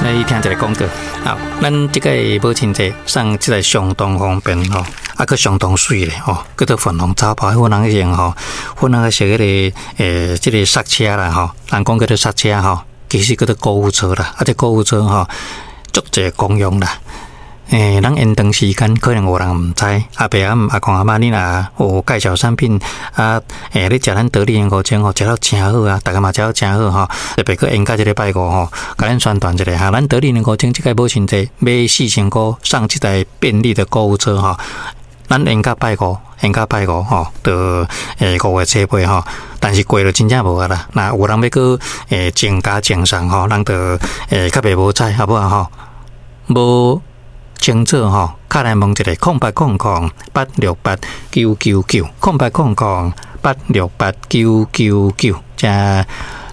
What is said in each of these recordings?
來聽一个廣告。好，咱這个母親節送這个相當方便吼，啊，閣相當媠咧吼，叫做粉紅泡泡，粉紅色吼，粉紅色彼个這个剎車啦吼，人講叫做剎車吼，其實叫做購物車啦，啊，這購物車吼，足濟功用啦。咱延長時間可能有人毋知，阿爸阿姆阿公阿嬤，你若有介紹產品啊，你食咱得力五精吼，食了誠好啊，逐家嘛食了誠好吼，特別閣延到這个拜五吼，共咱宣傳一下哈，咱得力五精這个母親節買4000箍送這台便利的購物車吼，咱延到拜五，延到拜五吼，就5月初八吼，但是過了真正無啊啦，若有人欲閣增加贈送吼，咱就較袂無彩，好無吼？無清楚吼，敲來問一下，0800868999，0800868999，這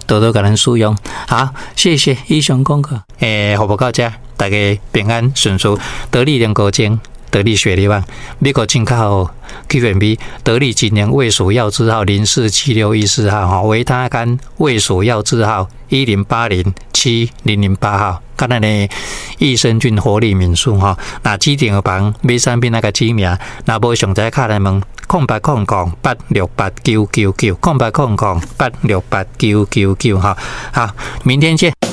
多多共咱使用。好，謝謝以上廣告。服務到這，大家平安順遂，得力練高精，得力雪梨網，美國進口 Q&B，得力錦聯衛署藥字號047614號，吼，維他乾衛署藥字號10807008號。佮咱的益生菌活力敏素吼，若指定的房買產品愛共指名，若無詳細敲來問0800868999，0800868999吼，好，明天見。